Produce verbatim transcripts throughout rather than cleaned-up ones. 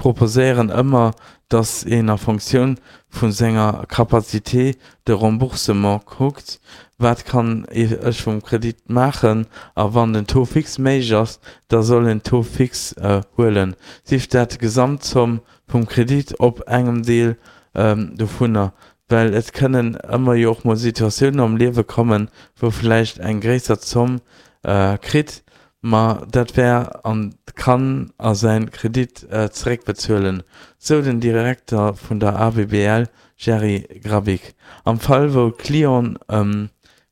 proposéieren ëmmer, datt een a Fonctioun vu senger Capacité de remboursement kuckt, wat kann ech vum Kredit maachen, a wann den Taux fixe méiglech ass, da soll een Taux fixe huelen, sief dat d'Gesamtzomm vum Kredit op engem Deel dovunner, well et kënnen ëmmer jo och mol Situatiounen am Liewe kommen, wou vläicht eng gréisser Zomm kritt, ma dat wär an kann a säin Kredit zeréckbezuelen, sou den Direkter vun der A B B L Jerry Grbic. Am Fall wou d'Clienten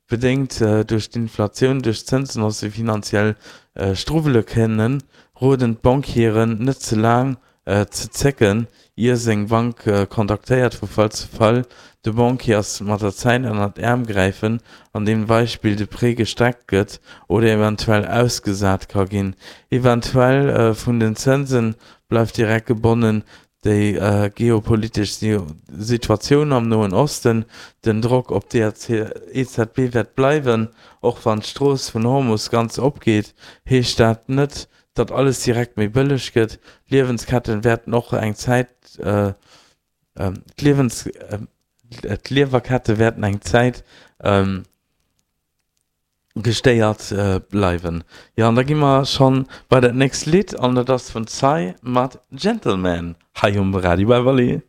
bedéngt duerch d'Inflatioun duerch d'Zënsenhausse finanziell struewele kënnen, roden d'Banquieren net ze laang ze zécken, ier seng Bank kontaktéiert. Vu Fall zu Fall. De Banquier ass mat der Zäit ënner d'Äerm gräifen, an deem Beispill de Prêt gestreckt gëtt oder eventuell ausgesat ka ginn. Eventuell vun den Zënse bleift direkt gebonnen déi geopolitesch Situatioun am Noen Osten. Den Drock op d'E Z B wäert bleiwen. Och wann d'Strooss vun Hormus ganz opgeet, heescht dat net, datt alles direkt méi bëlleg gëtt. D'Liewensketten wäerten och eng Zäit d'Liewens d'Liwwerkette wäerten eng Zäit gestéiert bleiwen. Jo, an da gi mer schonn bei dat nächst Lidd an dat ass vun Psy mat Gentleman hei um Radio Everly.